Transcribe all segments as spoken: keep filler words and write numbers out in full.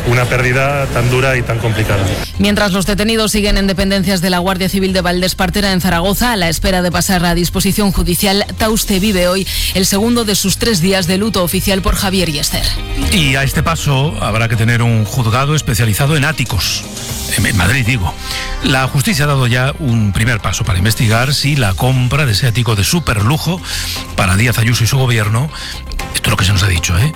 una pérdida tan dura y tan complicada. Mientras los detenidos siguen en dependencias de la Guardia Civil de Valdespartera en Zaragoza, a la espera de pasar a disposición judicial, Tauste vive hoy el segundo de sus tres días de luto oficial por Javier y Esther. Y a este paso habrá que tener un juzgado especializado en áticos. En Madrid, digo. La justicia ha dado ya un primer paso para investigar si la compra de ese ático de superlujo para Díaz Ayuso y su gobierno, esto es lo que se nos ha dicho, ¿eh?,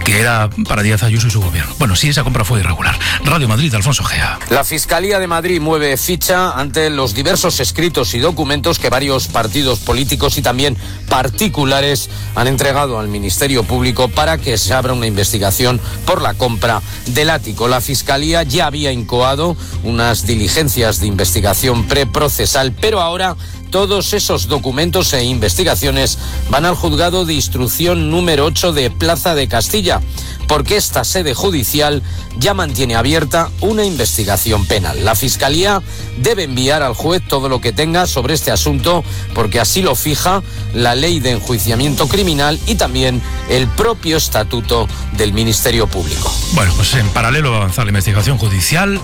que era para Díaz Ayuso y su gobierno. Bueno, sí, esa compra fue irregular. Radio Madrid, Alfonso Gea. La Fiscalía de Madrid mueve ficha ante los diversos escritos y documentos que varios partidos políticos y también particulares han entregado al Ministerio Público para que se abra una investigación por la compra del ático. La Fiscalía ya había incoado unas diligencias de investigación preprocesal, pero ahora todos esos documentos e investigaciones van al juzgado de instrucción número ocho de Plaza de Castilla, porque esta sede judicial ya mantiene abierta una investigación penal. La Fiscalía debe enviar al juez todo lo que tenga sobre este asunto, porque así lo fija la Ley de Enjuiciamiento Criminal y también el propio Estatuto del Ministerio Público. Bueno, pues en paralelo va a avanzar la investigación judicial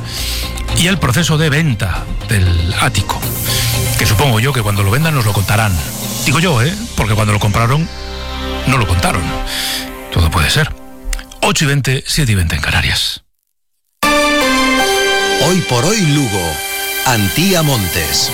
y el proceso de venta del ático, que supongo yo que cuando lo vendan nos lo contarán. Digo yo, ¿eh? Porque cuando lo compraron no lo contaron. Todo puede ser. ocho y veinte, siete y veinte en Canarias. Hoy por hoy Lugo. Antía Montes.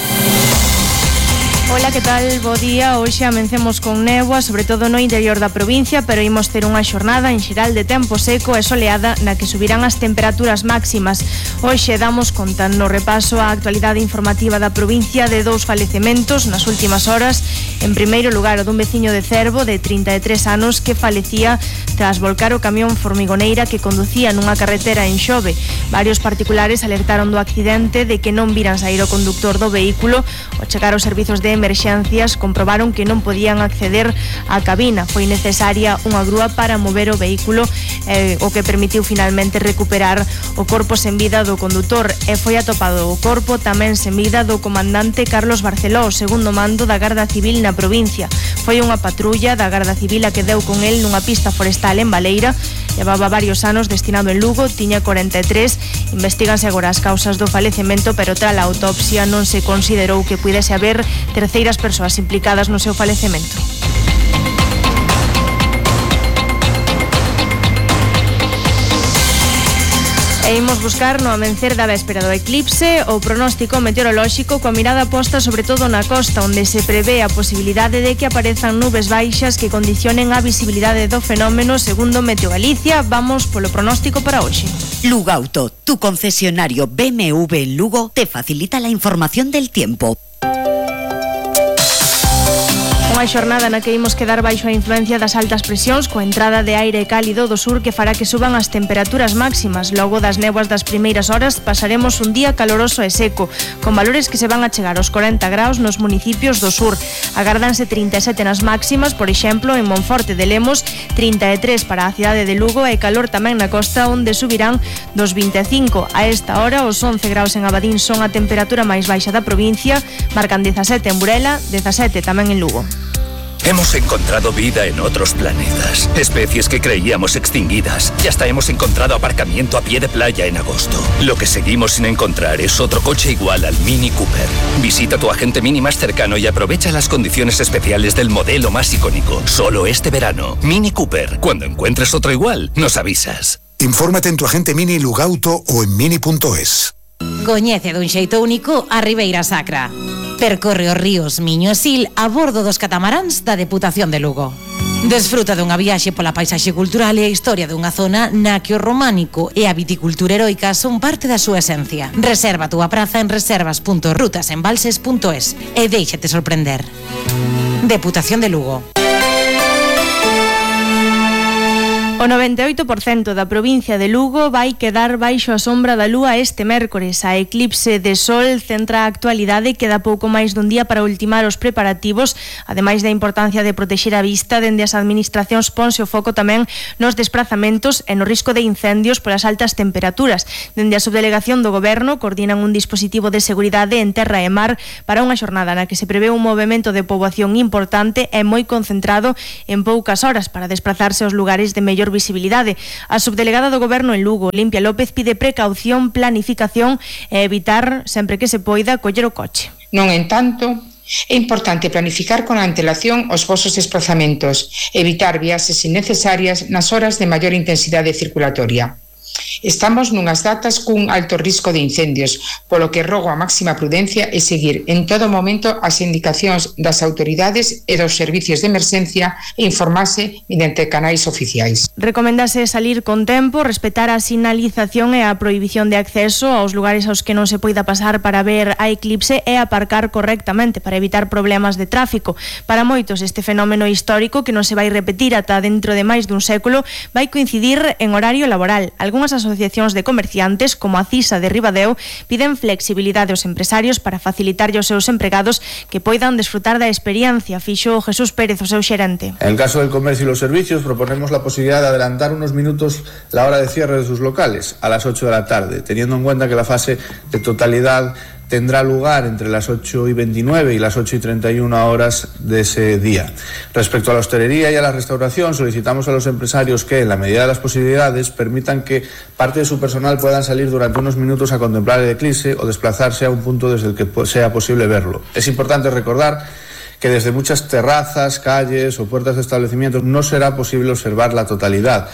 Ola, que tal? Bo día. Hoxe amencemos con néboa, sobre todo no interior da provincia, pero imos ter unha xornada en xeral de tempo seco e soleada na que subirán as temperaturas máximas. Hoxe damos conta no repaso á actualidade informativa da provincia de dous falecementos nas últimas horas. En primeiro lugar, o dun veciño de Cervo de trinta e tres anos que falecía tras volcar o camión formigoneira que conducía nunha carretera en Xove. Varios particulares alertaron do accidente de que non viran sair o conductor do vehículo. Ao chegar aos servizos de emerxencias comprobaron que non podían acceder á cabina. Foi necesaria unha grúa para mover o vehículo, eh, o que permitiu finalmente recuperar o corpo sen vida do condutor, e foi atopado o corpo tamén sen vida do comandante Carlos Barceló, segundo mando da Garda Civil na provincia. Foi unha patrulla da Garda Civil a que deu con el nunha pista forestal en Baleira. Levaba varios anos destinado en Lugo, tiña corenta e tres. Investíganse agora as causas do falecemento, pero tras a autopsia non se considerou que pudese haber terceiras persoas implicadas no seu falecemento. E imos buscar no amencer da véspera do eclipse o pronóstico meteorolóxico coa mirada posta sobre todo na costa, onde se prevé a posibilidade de que aparezan nubes baixas que condicionen a visibilidade do fenómeno, segundo Meteo Galicia. Vamos polo pronóstico para hoxe. Lugauto, tu concesionario B M W en Lugo, te facilita la información del tiempo. Unha xornada na que imos quedar baixo a influencia das altas presións, coa entrada de aire cálido do sur que fará que suban as temperaturas máximas. Logo das néboas das primeiras horas pasaremos un día caloroso e seco, con valores que se van a chegar aos corenta graus nos municipios do sur. Agárdanse trinta e sete nas máximas, por exemplo, en Monforte de Lemos, trinta e tres para a cidade de Lugo e calor tamén na costa, onde subirán dos vinte e cinco. A esta hora, os once graus en Abadín son a temperatura máis baixa da provincia, marcan dezasete en Burela, dezasete tamén en Lugo. Hemos encontrado vida en otros planetas, especies que creíamos extinguidas, y hasta hemos encontrado aparcamiento a pie de playa en agosto. Lo que seguimos sin encontrar es otro coche igual al Mini Cooper. Visita tu agente Mini más cercano y aprovecha las condiciones especiales del modelo más icónico. Solo este verano. Mini Cooper. Cuando encuentres otro igual, nos avisas. Infórmate en tu agente Mini Lugauto o en mini punto es. Coñece dun xeito único a Ribeira Sacra. Percorre os ríos Miño e Sil a bordo dos catamaráns da Deputación de Lugo. Desfruta dunha viaxe pola paisaxe cultural e a historia dunha zona na que o románico e a viticultura heroica son parte da súa esencia. Reserva a túa praza en reservas punto rutasembalses punto es e déixate sorprender. Deputación de Lugo. O noventa e oito por cento da provincia de Lugo vai quedar baixo a sombra da lúa este mércores. A eclipse de sol centra a actualidade e queda pouco máis dun día para ultimar os preparativos, ademais da importancia de protexer a vista. Dende as administracións ponse o foco tamén nos desprazamentos e no risco de incendios polas altas temperaturas. Dende a subdelegación do Goberno coordinan un dispositivo de seguridade en terra e mar para unha xornada na que se prevé un movemento de poboación importante e moi concentrado en poucas horas para desplazarse aos lugares de mellor maior visibilidade. A subdelegada do Goberno en Lugo, Olimpia López, pide precaución, planificación e evitar, sempre que se poida, coller o coche. Non entanto, é importante planificar con antelación os vosos desplazamentos, evitar viaxes innecesarias nas horas de maior intensidade circulatoria. Estamos nunhas datas cun alto risco de incendios, polo que rogo a máxima prudencia e seguir en todo momento as indicacións das autoridades e dos servicios de emerxencia e informarse mediante canais oficiais. Recomendase salir con tempo, respetar a sinalización e a prohibición de acceso aos lugares aos que non se poida pasar para ver a eclipse e aparcar correctamente para evitar problemas de tráfico. Para moitos, este fenómeno histórico, que non se vai repetir ata dentro de máis dun século, vai coincidir en horario laboral. Algúnas asociacións de comerciantes, como a CISA de Ribadeo, piden flexibilidade aos empresarios para facilitarlle aos seus empregados que poidan desfrutar da experiencia, fixo Jesús Pérez, o seu xerente. En el caso del comercio y los servicios, proponemos la posibilidad de adelantar unos minutos la hora de cierre de sus locales, a las ocho de la tarde, teniendo en cuenta que la fase de totalidad tendrá lugar entre las ocho y veintinueve y las ocho y treinta y una horas de ese día. Respecto a la hostelería y a la restauración, solicitamos a los empresarios que, en la medida de las posibilidades, permitan que parte de su personal puedan salir durante unos minutos a contemplar el eclipse o desplazarse a un punto desde el que sea posible verlo. Es importante recordar que desde muchas terrazas, calles o puertas de establecimientos no será posible observar la totalidad.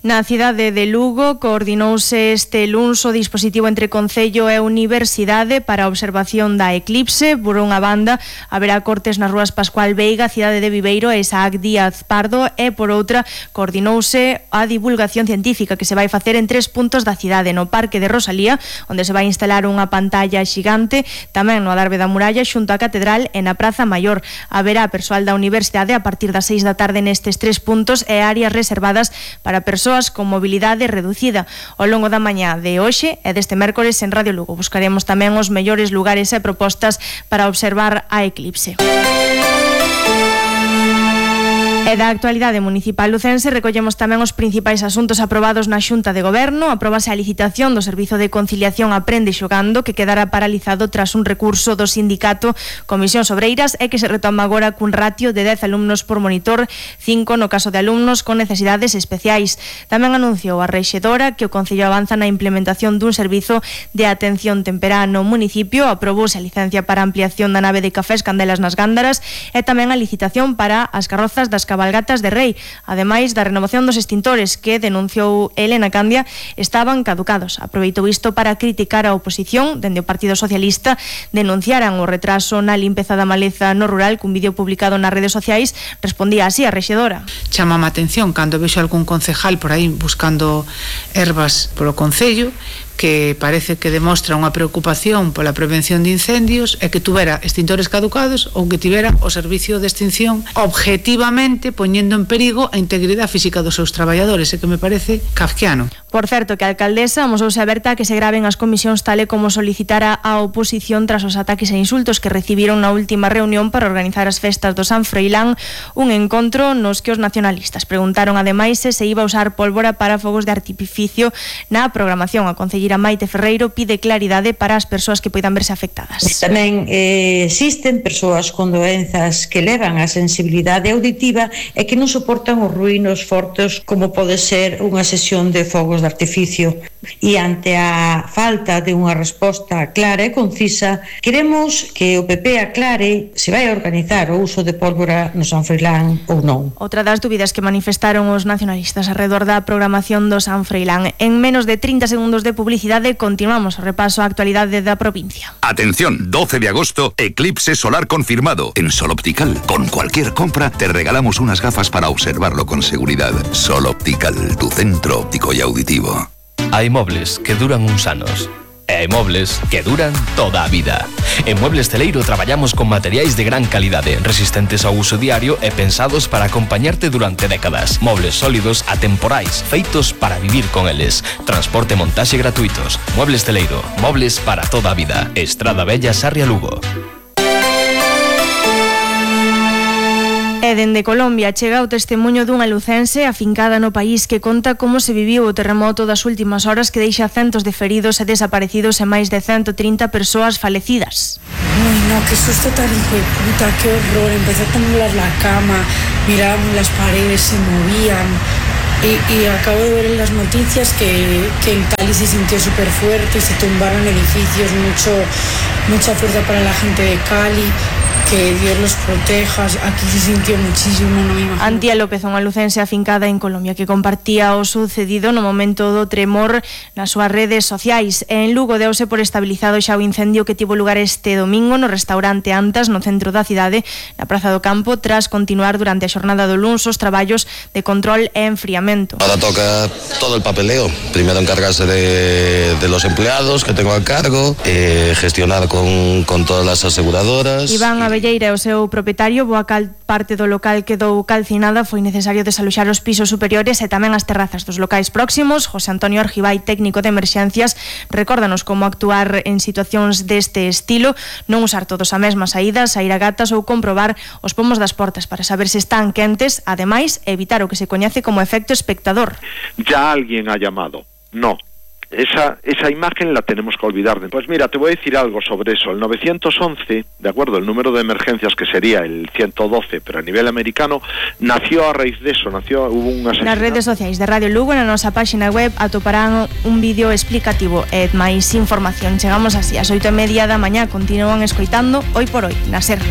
Na cidade de Lugo coordinouse este luns o dispositivo entre Concello e Universidade para a observación da eclipse. Por unha banda, haberá cortes nas rúas Pascual Veiga, Cidade de Viveiro e Isaac Díaz Pardo, e por outra, coordinouse a divulgación científica que se vai facer en tres puntos da cidade: no Parque de Rosalía, onde se vai instalar unha pantalla xigante, tamén no Adarve da Muralla, xunto á Catedral, e na Praza Maior. Haberá persoal da Universidade a partir das seis da tarde nestes tres puntos e áreas reservadas para persoas con mobilidade reducida. Ao longo da mañá de hoxe e deste mércores en Radio Lugo buscaremos tamén os mellores lugares e propostas para observar a eclipse. E da actualidade municipal lucense recollemos tamén os principais asuntos aprobados na Xunta de Goberno. Aprobase a licitación do Servizo de Conciliación Aprende Xogando, que quedará paralizado tras un recurso do sindicato Comisións Obreiras e que se retoma agora cun ratio de dez alumnos por monitor, cinco no caso de alumnos con necesidades especiais. Tamén anunciou a rexedora que o Concello avanza na implementación dun servizo de atención temperá no municipio. Aprobouse a licencia para ampliación da nave de Cafés Candelas nas Gándaras e tamén a licitación para as carrozas das cabalgatas de Rei, ademais da renovación dos extintores que, denunciou Elena Candia, estaban caducados. Aproveitou isto para criticar a oposición. Dende o Partido Socialista denunciaran o retraso na limpeza da maleza no rural, cun vídeo publicado nas redes sociais. Respondía así a rexedora. Chamame a atención cando vexo algún concejal por aí buscando ervas polo Concello, que parece que demostra unha preocupación pola prevención de incendios e que tuvera extintores caducados ou que tivera o servicio de extinción objetivamente poñendo en perigo a integridade física dos seus traballadores, e que me parece kafkiano. Por certo, que a alcaldesa amosouse aberta a que se graven as comisións tal e como solicitara a oposición tras os ataques e insultos que recibiron na última reunión para organizar as festas do San Froilán, un encontro nos que os nacionalistas preguntaron ademais se se iba a usar pólvora para fogos de artificio na programación. A concelleira Maite Ferreiro pide claridade para as persoas que poidan verse afectadas. Tamén eh, existen persoas con doenzas que levan a sensibilidade auditiva e que non soportan os ruínos fortes como pode ser unha sesión de fogos de artificio. E ante a falta de unha resposta clara e concisa, queremos que o P P aclare se vai a organizar o uso de pólvora no San Froilán ou non. Outra das dúbidas que manifestaron os nacionalistas arredor da programación do San Froilán. En menos de trinta segundos de publicidade continuamos o repaso á actualidade da provincia. Atención, doce de agosto, eclipse solar confirmado. En Sol Optical, con cualquier compra, te regalamos unas gafas para observarlo con seguridad. Sol Optical, tu centro óptico y auditivo. Hai mobles que duran uns anos e hai mobles que duran toda a vida. En Muebles Celeiro traballamos con materiais de gran calidade, resistentes ao uso diario e pensados para acompañarte durante décadas. Mobles sólidos, atemporais, feitos para vivir con eles. Transporte e montaxe gratuitos. Muebles Celeiro, mobles para toda a vida. Estrada Bella, Sarria, Lugo. E dende Colombia chega o testemunho dunha lucense afincada no país que conta como se viviu o terremoto das últimas horas que deixa centos de feridos e desaparecidos e máis de ciento trinta persoas falecidas. Uy, no, qué susto tan hijo de puta, qué horror. Empezó a temblar la cama, mirábamos las paredes, se movían. Y, y acabo de ver en las noticias que, que en Cali se sintió súper fuerte, se tumbaron edificios, mucho, mucha fuerza para la gente de Cali. Que Dios los proteja, aquí se sintió muchísimo, non me imagino. Antía López, unha lucense afincada en Colombia que compartía o sucedido no momento do tremor nas súas redes sociais. En Lugo deuse por estabilizado xa o incendio que tivo lugar este domingo no restaurante Antas, no centro da cidade, na Praza do Campo, tras continuar durante a xornada do luns os traballos de control e enfriamento. Ahora toca todo el papeleo, primero encargarse de, de los empleados que tengo a cargo, eh, gestionar con, con todas las aseguradoras. Iván Abelleira, o seu propietario, boa cal parte do local quedou calcinada, foi necesario desaloxar os pisos superiores e tamén as terrazas dos locais próximos. José Antonio Argibay, técnico de emerxencias, recórdanos como actuar en situacións deste estilo, non usar todos a mesma saída, saír a gatas ou comprobar os pomos das portas para saber se están quentes, ademais, evitar o que se coñece como efecto espectador. Ya alguien ha llamado, no. Esa, esa imagen la tenemos que olvidar. Pues mira, te voy a decir algo sobre eso. El nueve once, de acuerdo, el número de emergencias que sería el ciento doce, pero a nivel americano, nació a raíz de eso, nació, hubo un asesinato. Nas redes sociais de Radio Lugo, na nosa páxina web, atoparán un vídeo explicativo e máis información. Chegamos así, ás oito e media da mañá, continúan escoitando Hoy por Hoy, na SER.